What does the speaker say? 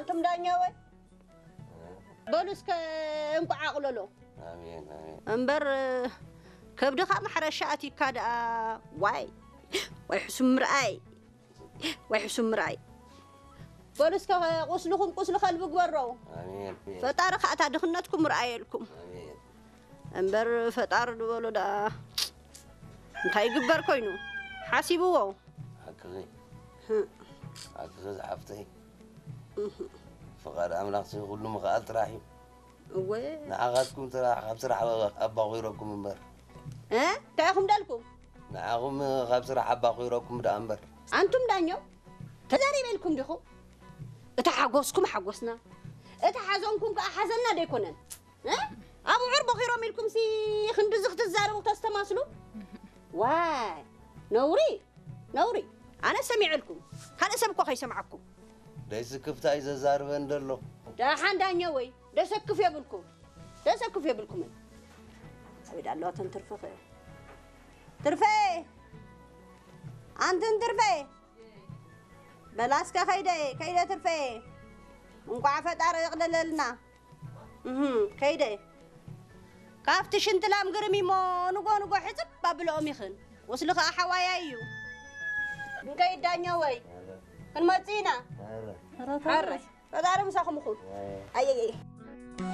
ትም ዳኛወይ በሉ እስከ እንቋዕ ኣቕለሎ። ኣሜን ኣሜን። እምበር ከብድኻ ማሕረሻ ኣቲካ ደኣ ዋይ ወይ ሕሱም ምርኣይ ወይ ሕሱም ምርኣይ። በሉ እስከ ቁስልኹም ቁስሊ ከልቢ ግበሮ። ኣሜን። ፈጣሪ ከኣ እታ ድኽነትኩም ርኣየልኩም። ኣሜን። እምበር ፈጣሪ ዝበሎ ደኣ እንታይ ይግበር ኮይኑ ሓሲብዎ። ሓቅኺ። ሓቅኺ ዝሓፍተይ። ፍቓድ ኣምላኽ ሲ ኩሉ ምኽኣል ጥራሕ እዩ። እወ። ንዓኻትኩም ጥራሕ ካብ ስራሕ ኣባኺረኩም እምበር። እ? እንታይ ኢኹም ደልኩም? ንዓኹም ካብ ስራሕ ኣባኺረኩም ደኣ እምበር። ኣንቱም ዳኛው ተዛሪበልኩም ዲኹም? እታ ሓጎስኩም ሓጎስና፣ እታ ሓዘንኩም ከኣ ሓዘንና ደይኮነን? እ? ኣብዑር ቦኺሮም ኢልኩም ሲ ክንድዚ ክትዛረቡ ተስተማስሉ? ዋይ ነውሪ ነውሪ። ኣነ ሰሚዐልኩም ካልእ ሰብ እኮ ከይሰምዓኩም። ደይስክፍታ እዩ ዘዛርበን ዘሎ። ደሓን ዳኛ ወይ ደሰክፍ የብልኩም ደሰክፍ የብልኩምን። ኣቤት ኣለዋ ተን ትርፊ ኸ ትርፌ ኣንትን ትርፌ በላስከ ከይደ ከይደ ትርፌ እንቋዕ ፈጣሪ ይቕለለልና። እህ ከይደ ካብቲ ሽንቲ ላም ግርም እሞ ንጎ ንጎ ሕፅብ ኣብልኦም ይኽን። ወስሊ ኸዓ ሓዋያ እዩ። ክንከይድ ዳኛ ወይ ክንመፅእ ኢና። ሓረይ ፈጣሪ ምሳኹም ይኹን። ኣየየየ